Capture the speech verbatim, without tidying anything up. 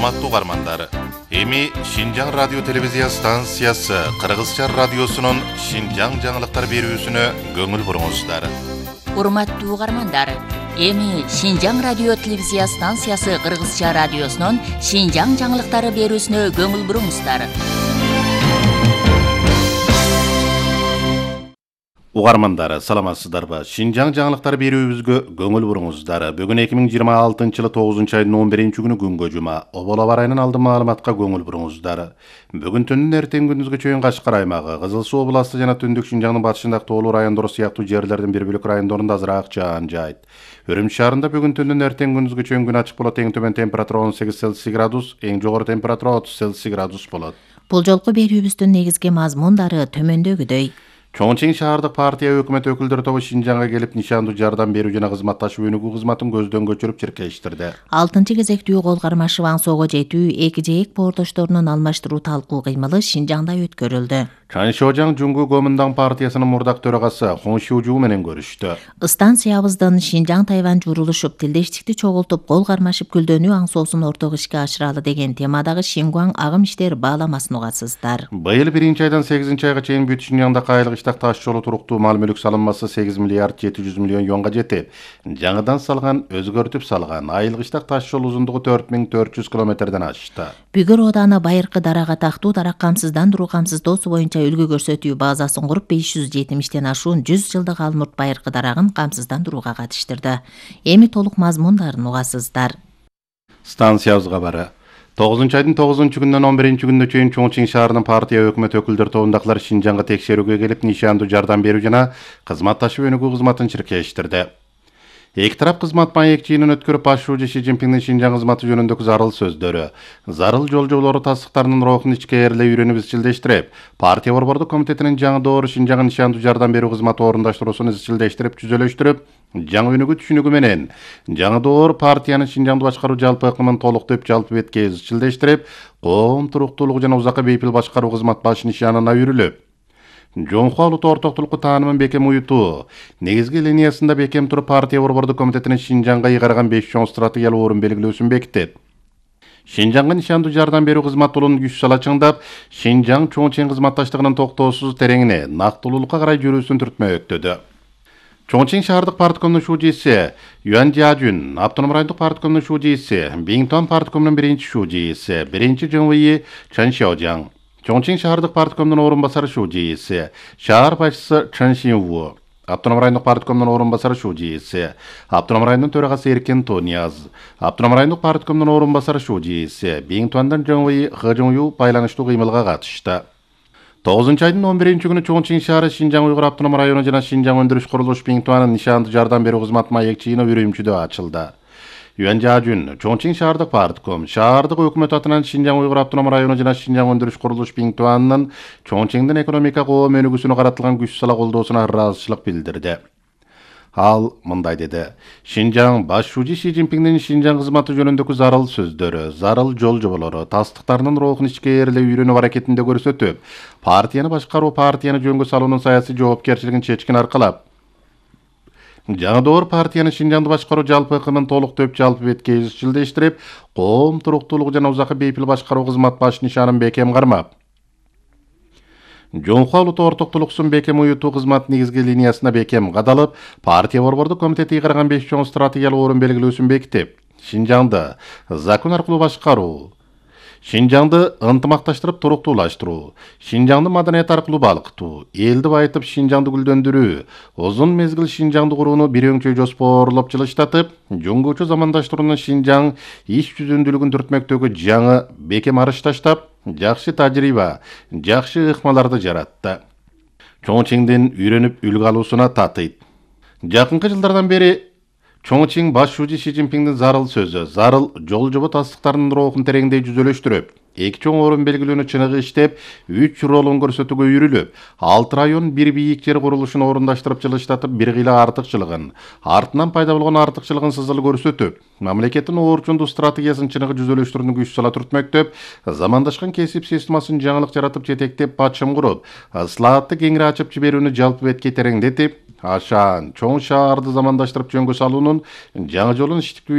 Урматтуу угармандар, эми Шинжаң радио телевизия станциясы Кыргызча радиосунун Шинжаң жаңылыктар берүүсүнө көңүл буруңуздар. Урматтуу угармандар, эми Шинжаң радио телевизия станциясы Кыргызча радиосунун Шинжаң жаңылыктары берүүсүнө көңүл буруңуздар. Угармандар, саламатсыздарбы? Шинжаң жаңылыктар берүүбүзгө көңүл буруңуздар. Бүгүн эки миң жыйырма алтынчы жылы тогузунчу айдын он биринчи күнү күнгө жума. Обол аба ырайынын алдын маалыматка көңүл буруңуздар. Бүгүн түндүн эртең күндүзгө чейин Кашкар аймагы, Кызыл Суу областы жана түндүк Шинжаңдын батышындагы тоолуу райондор сыяктуу жерлердин бир бөлүк райондорунда азыраак жаан жаайт. Үрүмчү шаарында бүгүн түндүн эртең күндүзгө чейин күн ачык болот. Эң төмөн температура он сегиз Цельсий градус, эң жогору температура отуз Цельсий градус болот. Бул жолку берүүбүздүн негизги мазмундары төмөндөгүдөй. Чоңчең шаардык партия өкмөт өкүлдөрү тобу Шинжаңга келип нишандуу жардам берүү жана кызматташуу өнүгүү кызматын көздөн көчүрүп чиркештирди. Алтынчы кезектүү кол кармашы Ваңсоого жетүү эки жээк боордошторунун алмаштыруу талкуу кыймылы Шинжаңда өткөрүлдү. Чаншожаң Жуңгу Гомундаң партиясынын мурдак төрагасы Хон Шужу менен көрүштү. Станциябыздын Шинжаң Тайвань журулушуп, тилдештикти чогултуп, кол кармашып күлдөнүү аңсоосун орток ишке ашыралы деген темадагы Шингуаң агым иштер бааламасын угасыздар. Быйыл биринчи айдан сегизинчи айга чейин бүт Шинжаңда кайылык иштак таш жолу туруктуу мал мүлк салынмасы сегиз миллиард жети жүз миллион юанга жетип, жаңыдан салган, өзгөртүп салган айылык иштак таш жол узундугу төрт миң төрт жүз километрден ашты. Бүгүр ооданы Байыркы дарага тактуу дарак камсыздандыруу камсыздоосу боюнча үлгү көрсөтүү базасын куруп беш жүз жетимиштен ашуун жүз жылдык Алмурт Байыркы дарагын камсыздандырууга катыштырды. Эми толук мазмундарын угасыздар. Станциябызга бары. тогузунчу айдын тогузунчу күнүнөн он биринчи күнүнө чейин Чоңчең шаарынын партия өкмөт өкүлдөрү тобундагылар Шинжаңга текшерүүгө келип, нишандуу жардам берүү жана кызматташуу өнүгүү кызматын чиркештирди. Эки тарап кызмат маек жыйынын өткөрүп, башчы Ши Цзиньпиндин Шинжаң кызматы жөнүндөгү зарыл сөздөрү, зарыл жолжоболору тастыктарынын рухун ичкээрлей үйрөнүп изчилдештирип, партия борбордук комитетинин жаңы доору Шинжаңга нишандуу жардам берүү кызматы орундаштыруусун изчилдештирип, жүзөлөштүрүп, жаңы өнүгүү түшүнүгү менен жаңы доор партиянын Шинжаңды башкаруу жалпы ыкмын толуктоп, жалпы бетке изчилдештирип, коом туруктуулугу жана узакка бейпил башкаруу кызмат баш нишанына үйрүлүп, Жоңху алууту ортоктулукку таанымын бекем уютуу негизги линиясында бекем туруп, партия борбордук комитетинин Шинжаңга ыйгарган беш чоң стратегиялык орун белгилөөсүн бекитет. Шинжаңга нишандуу жардам берүү кызматы улун күч сала чыңдап, Шинжаң Чоңчең кызматташтыгынын токтоосуз тереңине, нактылуулукка карай жүрүүсүн түртмөктөдү. Чоңчең шаардык парткомунун шужиси Юан Жажун, автоном райондук парткомунун шужиси Биңтуан парткомунун биринчи шужиси, биринчи ЖМВИ Чаншожаң, Чоңчең шаардык парткомунун орун басары шужиси, шаар башчысы Чан Шинву, автоном райондук парткомунун орун басары шужиси, автоном райондун төрагасы Эркен Тоняз, автоном райондук парткомунун орун басары шужиси, Биңтуандан ЖМВИ Хыжыңю байланыштуу кыймылга катышты. тогузунчу айдын он биринчи күнү Чоңчең шаары, Шинжаң уйгур автоном району жана Шинжаң өндүрүш курулуш Биңтуанын нишандуу жардам берүү кызмат маек жыйыны Үрүмчүдө ачылды. Юан Жажун, Чоңчең шаардык партком, шаардык өкмөт атынан Шинжаң уйгур автоном району жана Шинжаң өндүрүш курулуш Биңтуанын Чоңчеңдин экономика коом өнүгүүсүнө каратылган күч сала колдоосуна ыраазычылык билдирди. Ал мындай деди: Шинжаң башчы Ши Цзиньпиндин Шинжаң кызматы жөнүндөгү зарыл сөздөрү, зарыл жолжоболору тастыктарынын рухун ичкээрлей үйрөнүү аракетинде көрсөтүп, партияны башкаруу, партияны жөнгө салуунун саясий жоопкерчилигин чечкин аркалап, жаңы доор партияны Шинжаңды башкаруу жалпы ыкмын толуктоп, жалпы бетке изчилдештирип, коом туруктуулугу жана узакка бейпил башкаруу кызмат баш нишанын бекем кармап, Жоңху алууту ортоктулуксун бекем уютуу кызмат негизги линиясына бекем кадалып, партия борбордук комитети ыйгарган беш чоң стратегиялык орун белгилөөсүн бекитип, Шинжаңды закон аркылуу башкаруу, Шинжаңды ынтымакташтырып туруктуулаштыруу, Шинжаңды маданият аркылуу балкытуу, элди байытып Шинжаңды гүлдөндүрүү, узун мезгил Шинжаңды курууну бир өңчөй жоспоорлоп жылыштатып, жөнгөчө замандаштырууну Шинжаң иш жүзүндүүлүгүн түртмөктөгү жаңы бекем арыш таштап, жакшы тажрыйба, жакшы ыкмаларды жаратты. Чоңчеңдин үйрөнүп үлгү алуусуна татыйт. Жакынкы жылдардан бери Чоңчең башчы Ши Цзиньпиндин зарыл сөзү, зарыл жолжобо тастыктарынын рухун тереңдей жүзөлөштүрүп, эки чоң орун белгилөөнү чыныгы иштеп, үч ролун көрсөтүүгө үйрүлүп, алты район бир бийик жер курулушун орундаштырып жылыштатып, бир кыйла артыкчылыгын, артынан пайда болгон артыкчылыгын сызыл көрсөтүп, мамлекеттин оорчундуу стратегиясын чыныгы жүзөлөштүрүүнү күч сала түртмөктөп, замандашкан кесип системасын жаңылык жаратып жетектеп, бачым куруп, ыслаатты кеңири ачып жиберүүнү жалпы бетке тереңдетип, ашаан чоң шаарды замандаштырып жөнгө салуунун жаңы жолун иштиктүү